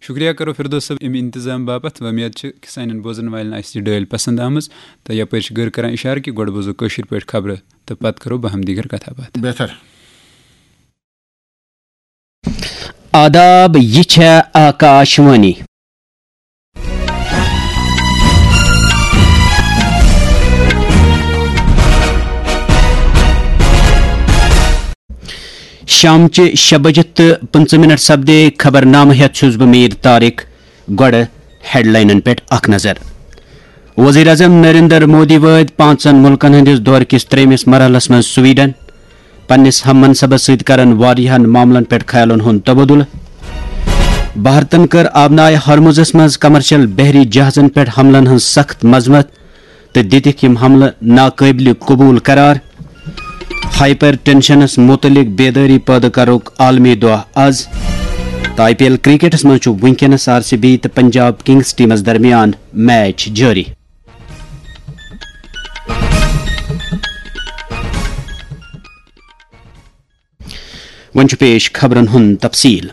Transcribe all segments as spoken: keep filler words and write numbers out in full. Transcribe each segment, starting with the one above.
شکریہ کرو فردوس صٲب امہِ انتظام باپتھ۔ وۄمید چھِ کہِ سانٮ۪ن بوزن والٮ۪ن آسہِ یہِ ڈٲلۍ پسند آمٕژ۔ تہٕ یپٲرۍ چھِ گٔر کران اشارٕ کہِ گۄڈٕ بوزو کٲشِر پٲٹھۍ خبرٕ تہٕ پتہٕ کرو باہم دیگر کتھا باتھ۔ بہتر۔ آداب، یہِ چھےٚ آکاش وانی۔ شامچہِ شےٚ بجہِ تہٕ پٕنٛژٕہ منٹ سپدے۔ خبرنامہٕ ہٮ۪تھ چھُس بہٕ میٖر طارق۔ گۄڈٕ ہیڈلاینن پٮ۪ٹھ اکھ نظر۔ وزیر اعظم نریندر مودی وٲتۍ پانٛژن مُلکن ہٕنٛدِس دورٕ کِس ترٛیٚیمِس مرحلس منٛز سویڈن۔ پننِس ہم منصبس سۭتۍ کرن واریاہن معاملن پٮ۪ٹھ خیالن ہُنٛد تبادلہٕ۔ بھارتن کٔر آبنائے ہرمزس منٛز کمرشل بحری جہازن پٮ۪ٹھ حملن ہٕنٛز سخت مذمت تہٕ دِتِکھ یِم حملہٕ ناقٲبلِ قبول قرار۔ ہائپر ٹینشنس متعلق بیدٲری پٲدٕ کرنُک عالمی دۄہ از۔ تہٕ آئی پی ایل کرکٹس منٛز چھُ وُنکیٚنس آر سی بی تہٕ پنجاب کنگز ٹیمس درمیان میچ جٲری۔ وۄنۍ چھُ پیش خبرن ہُنٛد تفصیل۔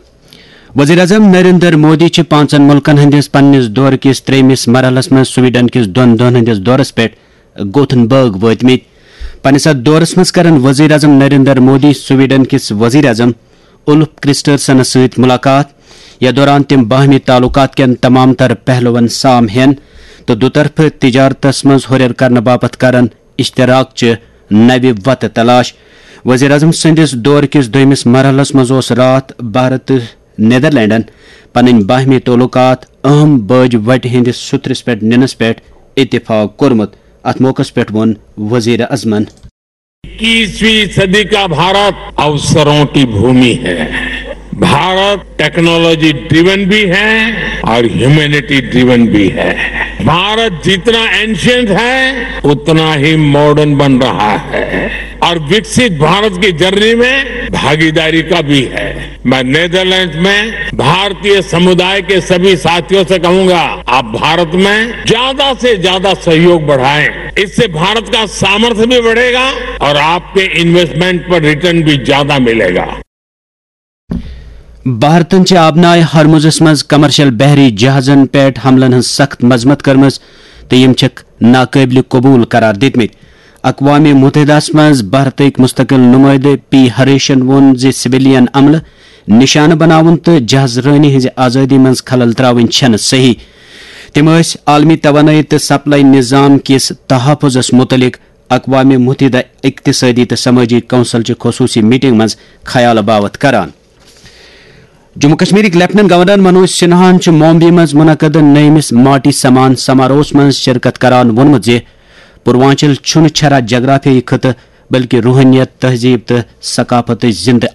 وزیر اعظم نریندر مودی چھِ پانٛژن مُلکن ہٕنٛدِس پننِس دورٕ کِس ترٛیٚیمِس مرحلس منٛز سویڈن کِس دۄن دۄہن ہٕنٛدِس دورس پٮ۪ٹھ گوتھنبرگ وٲتمٕتۍ۔ پننِس اتھ دورس منٛز کرن وزیر اعظم نریندر مودی سویڈن کِس وزیر اعظم اُلف کرسٹرسنس سۭتۍ مُلاقات، یتھ دوران تِم باہمی تعلقات کٮ۪ن تمام تر پہلوَن سام ہٮ۪ن تہٕ دُطرفہٕ تجارتس منٛز ہُرٮ۪ر کرنہٕ باپتھ کرن اشتراک چہِ نوِ وتہٕ تلاش۔ وزیر اعظم سٕنٛدِس دورٕ کِس دوٚیمِس مرحلس منٛز اوس راتھ بھارت تہٕ نیدرلینڈن پنٕنۍ باہمی تعلقات اہم بٲج وٹہِ ہٕنٛدِس سُترِس پٮ۪ٹھ نِنس پٮ۪ٹھ اتفاق کوٚرمُت۔ اتھ موقعس پٮ۪ٹھ ووٚن وزیر اعظمن۔ इक्कीसवीं सदी का भारत अवसरों की भूमि है। भारत टेक्नोलॉजी ड्रिवन भी है और ह्यूमैनिटी ड्रिवन भी है। भारत जितना एंशियंट है, उतना ही मॉडर्न बन रहा है और विकसित भारत की जर्नी में भागीदारी का भी है। मैं नीदरलैंड्स में भारतीय समुदाय के सभी साथियों से कहूंगा, आप भारत में ज्यादा से ज्यादा सहयोग बढ़ाएं। इससे भारत का सामर्थ्य भी बढ़ेगा और आपके इन्वेस्टमेंट पर रिटर्न भी ज्यादा मिलेगा। بھارتن چھِ آبنائے ہرمزس منٛز کمرشل بحری جہازن پٮ۪ٹھ حملن ہٕنٛز سخت مذمت کٔرمٕژ تہٕ یِم چھِکھ ناقٲبلِ قبول قرار دِتمٕتۍ۔ اقوام متحدہس منٛز بھارتٕکۍ مستقل نمٲیدٕ پی ہریشن ووٚن زِ سویلین عملہٕ نشانہٕ بناوُن تہٕ جہاز رٲنی ہٕنٛزِ آزٲدی منٛز خلل تراوٕنۍ چھَنہٕ صحیح۔ تِم ٲسۍ عالمی توانٲیی تہٕ سپلائی نظام کِس تحفظس متعلق اقوام متحدہ اقتصادی تہٕ سمٲجی کونسل چہِ خصوصی میٹنگ منٛز خیال باوت کران۔ جموں کشمیرٕکۍ لیفٹیننٹ گورنر منوج سنہاہن چھُ ممبئی منٛز منعقد نٔیمِس ماٹی سمان سماروہس منٛز شرکت کران ووٚنمُت زِ پوروانچل چھُنہٕ چھرا جغرافیائی خطہٕ، بلکہِ روحانیت، تہذیب تہٕ ثقافتٕچ زندٕ